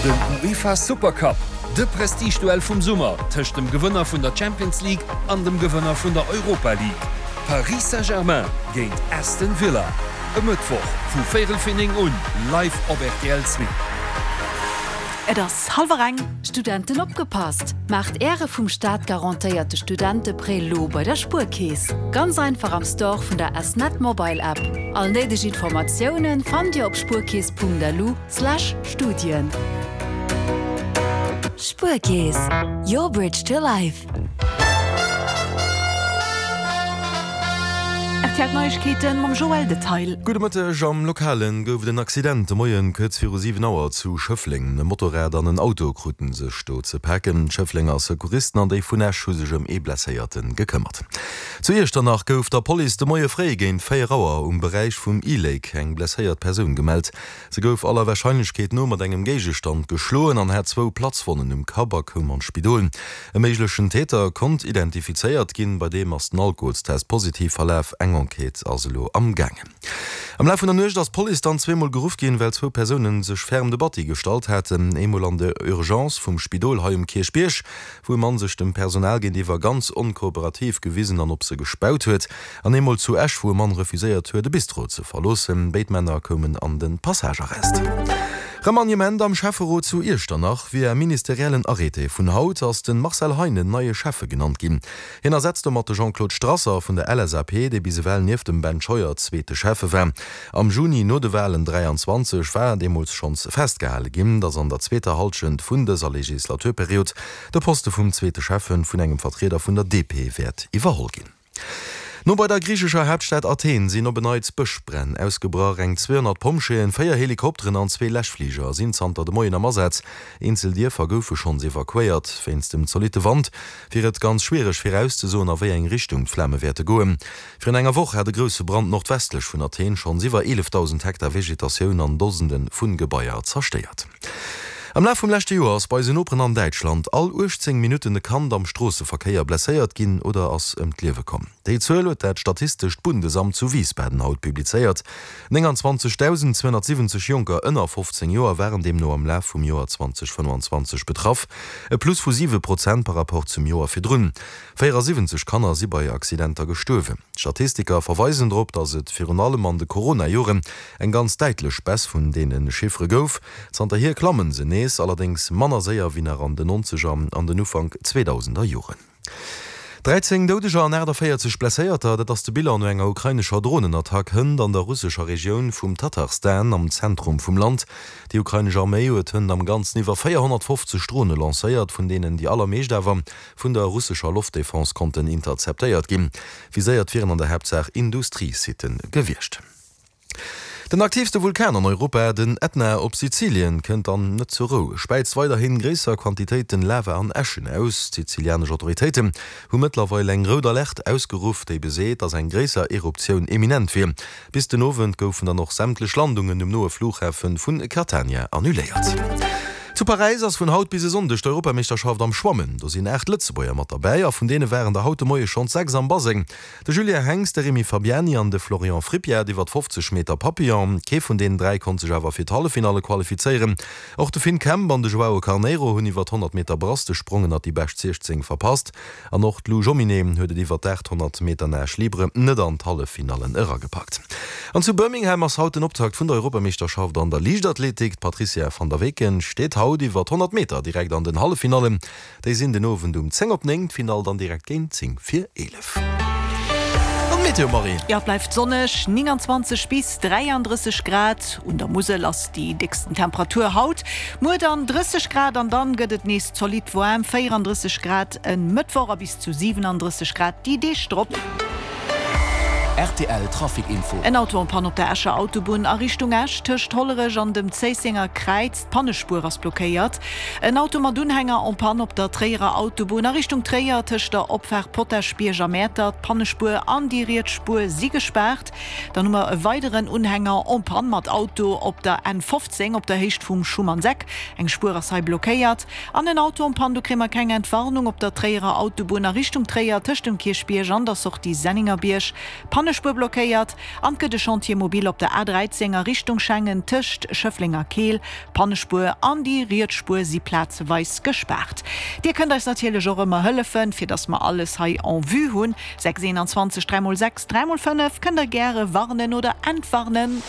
Den UEFA Supercup, de Prestigeduell vum Summer tëscht dem Gewënner vun der Champions League an dem Gewënner vun der Europa League. Paris Saint-Germain géint Aston Villa, e Mëttwoch vu véierel fir 9 un, live op rtl 2. Et ass hallwer eng. Studenten opgepasst! Maacht Äre vum Staat garantéierte Studenteprêt lo bei der Spuerkeess. Ganz einfach am Store vun der S-Net Mobile App. All néideg Informatiounen fannt Dir op spuerkeess.lu slash Studien. Spuerkeess, your bridge to life. Rtl Neiegkeeten mam Joël Detail. Gudde Mëtteg, Am Lokalen gouf et en Accident de Moien kuerz viru 7 Auer zu Schëffleng. E Motorrad an en Auto kruten sech do ze paken. D'Schëfflenger Secouristen an déi vun Esch hu sech ëm ee Blesséierte gekëmmert. Zu Iechternach gouf der Police de Moie fréi géint 4 Auer um Beräich vum E-Lake eng blesséiert Persoun gemellt. Se gouf aller Warscheinlechkeet no mat engem Géigestand geschloen an hat zwou Platzwonnen um Kapp a koum an d'Spidol. E méiglechen Täter konnt identifizéiert ginn, bei deem ass den Alkoholstest positiv verlaf. Eng Enquête ass elo am gaangen. Am Laf vun der Nuecht ass d'Police dann zweemol geruff ginn, well zwou Persoune sech ferm de Batti gestallt haten. Eemol an der Urgence vum Spidol hei um Kierchbierg, wou e Mann sech dem Personal géintiwwer ganz onkooperativ gewisen an op se gespaut huet. An eemol zu Esch, wou e Mann refuséiert huet, e Bistro ze verloossen. Béid Männer koumen an de Passagearrest. Remaniement am Schäfferot zu Iechternach, Via ministeriellen Arrêté vun haut ass de Marcel Heinen neie Schäffe genannt ginn. Hien ersetzt domat de Jean-Claude Strasser vun der LSAP, dee bis ewell nieft dem Ben Scheuer zweete Schäffe war. Am Juni no de Walen 23 war deemools schonns festgehale ginn, datt an der zweeter Hallschent vun dëser Legislaturperiod de Poste vum zweete Schäffe vun engem Vertrieder vun der DP wäert iwwerholl ginn. No bei der griichescher Haaptstad Athen sinn op en Neits Bëschbränn ausgebrach. Eng 200 Pompjeeën, 4 Helikopteren an zwee Läschfliger sinn zanter de Moien am Asaz. Eenzel Dierfer goufe schonns evakuéiert. Wéinst dem zolitte Wand wier et ganz schwiereg virauszesoen, a wéi eng Richtung d'Flame wäerte goen. Virun enger Woch hat e grousse Brand nordwestlech vun Athen schonns iwwer 11.000 Hektar Vegetatioun an Dosende vu Gebaier zerstéiert. Am Laf vum leschte Joer ass bei eisen Noperen an Däitschland all 18 Minutten e Kand am Stroosseverkéier blesséiert ginn oder ass ëm d'Liewe komm. Déi Zuel huet dat Statistescht Bundesamt zu Wiesbaden haut publizéiert. 29.270 Jonker ënner 15 Joer waren deemno am Laf vum Joer 2025 betraff, e Plus vu 7 Prozent par Rapport zum Joer virdrun. 74 Kanner si bei Accidenter gestuerwen. D'Statistiker verweisen drop, datt et virun allem an de Corona-Joren eng ganz däitlech Baisse vun deene Chiffere gouf. Zanterhier klammen se nees, allerdéngs manner séier wéi nach an den Nonzeger an den Ufank Zweedausender Joren. 13 Doudeger an 48 Blesséierter, dat ass de Bilan no enger ukrainescher Dronenattack hënt an der russescher Regioun vum Tatarstan am Zentrum vum Land. Déi ukrainesch Arméi huet hënt am Ganzen iwwer 450 Drone lancéiert, vun deenen déi allermeescht awer vun der russescher Loftdefense konnten interzeptéiert ginn. Viséiert wieren an der Haaptsaach Industriesitte gewiescht. Den aktiivste Vulkan an Europa, den Ätna op Sizilien, kënnt dann net zur Rou, späizt weiderhin gréisser Quantitéiten Lava an Äschen aus. D'sizilianesch Autoritéiten hu mëttlerweil eng rout Alerte ausgeruff, déi beseet, dass eng gréisser Eruptioun eminent wier. Bis den Owend goufen dann och sämtlech Landungen um noe Flughafe vun Catania annuléiert. Zu Paräis ass vun haut bis e Sonndeg d'Europameeschterschaft am Schwammen. Do sinn 8 Lëtzebuerger mat derbäi a vun deene waren der haut de Moie schonns 6 am Baseng. De Julien Henx, de Rémi Fabiani an de Florian Frippiat iwwer 50 Meter Papillon. Kee vun deenen 3 konnt sech awer fir d'Halleffinalle qualifizéieren. Och de Finn Kemp an de Joao Carneiro hunn iwwer 100 Meter Brass de Sprong ënnert déi bescht 16 verpasst. An och d'Lou Jomminet huet et iwwer d'800 Meter Nage libre net an d'Halleffinallen eragepackt. An zu Birmingham ass haut den Optakt vun der Europameeschterschaft an der Liichtathletik. D'Patrizia van der Weken steet haut iwwer 100 Meter direkt an den Halleffinallen. Déi sinn den Owend um 10 op 9, d'Finall dann direkt géint 10 vir 11. An d'Meteo, Marie? Jo, et bleift sonneg, 29 bis 33 Grad. Un der Musel ass déi décksten Temperatur haut. Muer dann 30 Grad an dann gëtt et nees zolidd waarm, 34 Grad e Mëttwoch a bis zu 37 Grad déi Deeg drop. Rtl Trafic Info. En Auto en panne op der Escher Autobunn a Richtung Esch tëscht Hollerech an dem Zéissenger Kräiz. D'Pannespuer ass blockéiert. En Auto mat Unhänger en panne op der Tréierer Autobunn a Richtung Tréier tëscht der Opfaart Potaschbierg a Mäertert. D'Pannespuer an déi riets Spuer si gespaart. Dann hu mer e weideren Unhänger en panne mat Auto op der N 15 op der Héicht vum Schumannseck. Eng Spuer ass hei blockéiert. An en Auto en panne, do kréie mer keng Entwarnung, op der Tréierer Autobunn a Richtung Tréier tëscht dem Kierchbierg an der Sortie Sennengerbierg. D'Pannespuer blockéiert an 't gëtt e Chantier mobile op der A13 a Richtung Schengen tëscht Schëffleng a Keel. D'Pannespuer an déi riets Spuer si plazeweis gespaart. Dir kënnt eis natierlech och ëmmer hëllefen, fir dass mer alles hei en vue hunn. 6 21 3 x 6 3 x 5 kënnt der gäre warnen oder entwarnen.